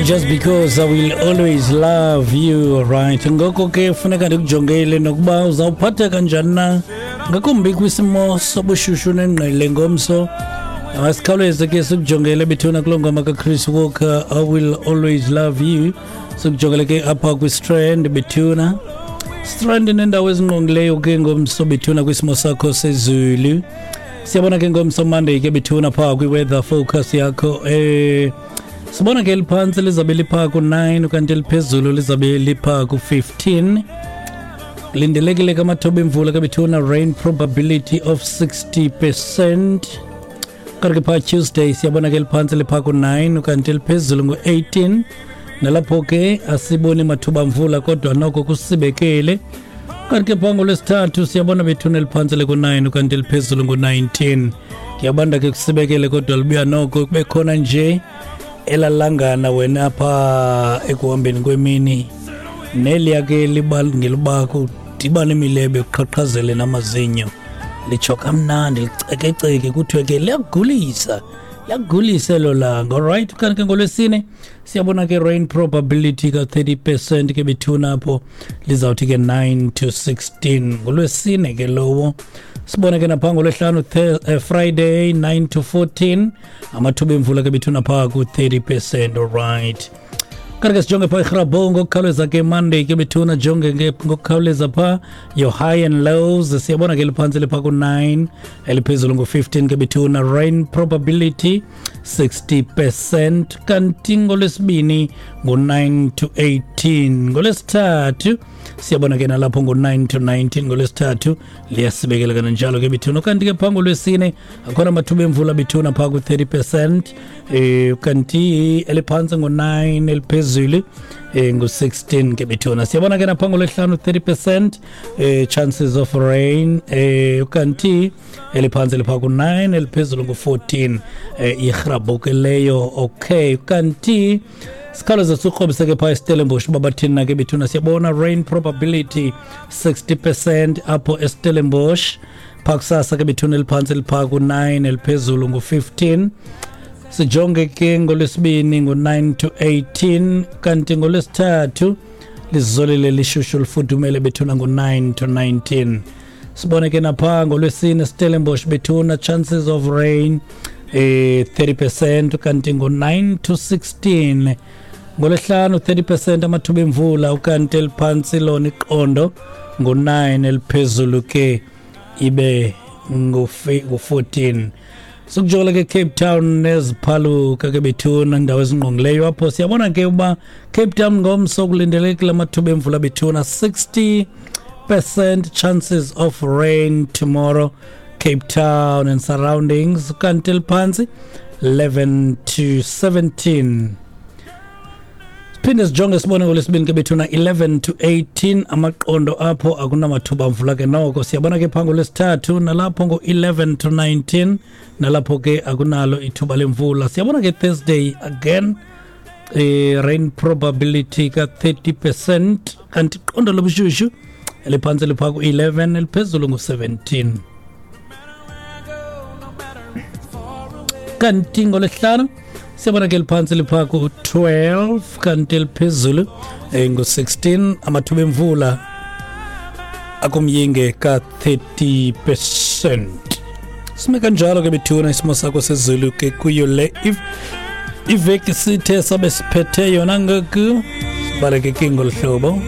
Just because I will always love you, right? Ngoko ke funeka ndikujongele nokuba uzawuphatheka kanjani na, ngakumbi kwisimo sobushushu nengqele ngomso. Asikhawuleze ke sikujongele bethuna kuloo ngoma kaChris Walker, I Will Always Love You. Sikujongele ke apha kwiStrand bethuna. Strand nendawo ezingqongileyo ke ngomso bethuna kwisimo sakho sezulu. Siyabona ke ngomso Monday ke bethuna phaa kwi-weather focus yakho. Sibona ke eliphantsi lizabe liphaa ku-9, kanti eliphezulu lizabe liphaa ku-15. Lindelekile ke amathuba emvula ke bethuna, rain probability of 60%. Kanti ke phaa Tuesday siyabona ke eliphantsi liphaa ku-9, kanti eliphezulu ngu-18. Nalapho ke asiboni mathuba mvula, kodwa noko kusibekele. Kanti ke phaa ngolwesithathu siyabona bethuna eliphantsi liku-9, kanti eliphezulu ngu-19. Kuyabanda ke, kusibekele, kodwa libuya noko kube khona nje elalangana wena apha ekuhambeni kwemini, neliya ke libangela uba kudibane imilebe, kuqhaqhazele namazinyo, litsho kamnandi, licekeceke, kuthiwe ke liyagulisa, liyagulisa elo langa. Alright, kanti ke ngolwesine siyabona ke rain probability ka-30% ke bethuna apho, lizawuthi ke 9 to 16 ngolwesine ke lowo. Sibone ke napha ngolwesihlanu, Friday, 9 to 14, amathuba emvula ke bethuna phaa ku-30%. Alright, kanti ke sijonge phaa iGrabouw ngokukhawuleza ke Monday ke bethuna. Jonge ke ngokukhawuleza phaa your high and lows. Siyabona ke liphantsi liphaa ku-9, eliphezulu ngu-15 ke bethuna, rain probability 60%. Kanti ngolwesibini ngu-9 to 18. Ngolwesithathu siyabona ke nalapho ngu-9 to 19. Ngolwesithathu liyasibekela kananjalo ke bethuna. Kanti ke phaa ngolwesine akhona amathuba emvula bethuna phaa ku-30%, kanti eliphantsi ngo-9, eliphezulu ngu-16 ke bethuna. Siyabona ke napha ngolwesihlanu 30% chances of rain, kanti eliphantsi liphaa ku-9, eliphezulu ngu-14. IGrabouw ke leyo. Okay, kanti sikhawuleze sikrobise ke phaa eStellenbosch uba bathini na ke bethuna. Siyabona rain probability 60% apho eStellenbosch phaa kusasa ke bethuna, eliphantsi liphaa ku-9, eliphezulu ngu-15. Sijonge ke ngolwesibini ngu-9 to 18, kanti ngolwesithathu lizolile, lishushu, lifudumele bethuna, ngu-9 to 19. Sibone ke napha ngolwesine Stellenbosch bethuna, chances of rain 30%, kanti ngo-9 to 16. Ngolwesihlanu 30% amathuba emvula, ukanti eliphantsi lona iqondo ngo-9, eliphezulu ke ibe ngu-14. Sikujola ke Cape Town neziphaluka ke bethuna, indawo ezingqongileyo apho. Siyabona ke uba Cape Town ngomso kulindelekile amathuba emvula bethuna, 60% chances of rain tomorrow, Cape Town and surroundings, kanti eliphantsi 11 to 17. Siphinde sijonge sibone ngolwesibini ke bethuna, 11 to 18 amaqondo apho, akunamathuba mvula ke noko. Siyabona ke phaa ngolwesithathu nalapho ngo-11 to 19, nalapho ke akunalo ithuba lemvula. Siyabona ke Thursday again rain probability ka-30%, kanti iqondo lobushushu eliphantsi liphaa ku-11, eliphezulu ngu-17. Kanti ngolwesihlanu siyabona ke liphantsi liphaa ku-12, kanti eliphezulu ngu-16, amathuba emvula akumyinge ka-30%. Sime kanjalo ke bethuna isimo sakho sezulu ke kuyo le if iveki sithe sabe siphethe yona ngoku. Sibaleke ke ngolu hlobo.